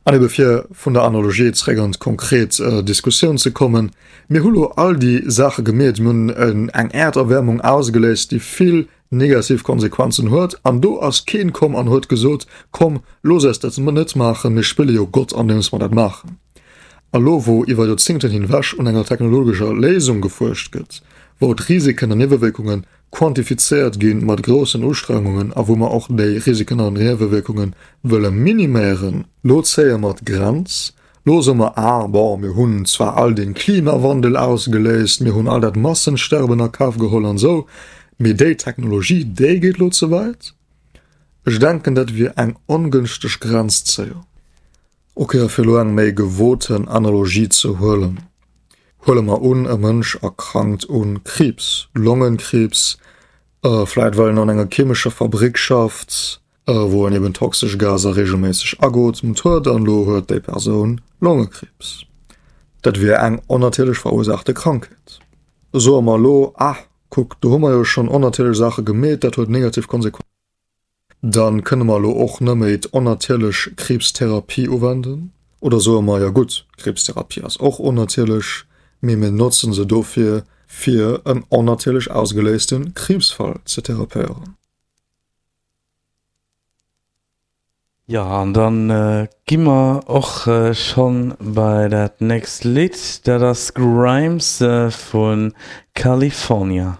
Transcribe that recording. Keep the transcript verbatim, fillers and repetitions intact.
An ebe fir vun der Analogie zréck an d'konkret Diskussioun ze kommen, Mir hu lo all déi Saache gemeet, mir hunn eng Äerderwäermung ausgeléist, déi vill negativ Konsequenzen huet, an do ass keen komm an huet gesot, Komm, looss eis dat net maachen, mir spille jo Gott andeems mer dat maachen. A lo wou iwwer Joerzingten hinwech un enger technologescher Léisung gefuerscht gëtt, wou d'Risiken an Niewewierkunge quantifizéiert gi mat groussen Ustrengungen a wou mer och déi Risiken an Niewewierkunge wëlle miniméieren, lo zéie mer d'Grenz, lo soe mer, ah bon, mir hunn zwar all dee Klimawandel ausgeléist, mir hunn all dat Massensterben a Kaf geholl an esou, mee déi Technologie, déi geet lo ze wäit. Ech denken, dat wier eng ongënschteg Grenzzéiung. Ok, a fir elo eng méi gewoten Analogie ze huelen, Huele mer un, e Mënsch erkrankt un Kriibs, Longenkriibs, vläit well en an enger chemescher Fabrick schafft, wou en eben toxesch Gaser regelméisseg ageotemt huet, an elo huet déi Persoun Longekriibs. Dat wier eng onnatierlech verursaachte Krankheet. Soe mer elo, Ah, kuck, do hu mer jo schonn onnatierlech Saache gemeet, dat huet negativ Konsequenzen. Dann kënne mer elo och nëmméi d'onnatierlech Kriibstherapie uwenden. Oder soe mer, jo gutt, d'Kriibstherapie ass och onnatierlech, mee mir notzen se dofir, fir en onnatierlech ausgeléiste Kriibsfall ze therapéieren. Jo, an dann gi mer och schonn bei dat nächst Lidd, dat ass Grimes vu California.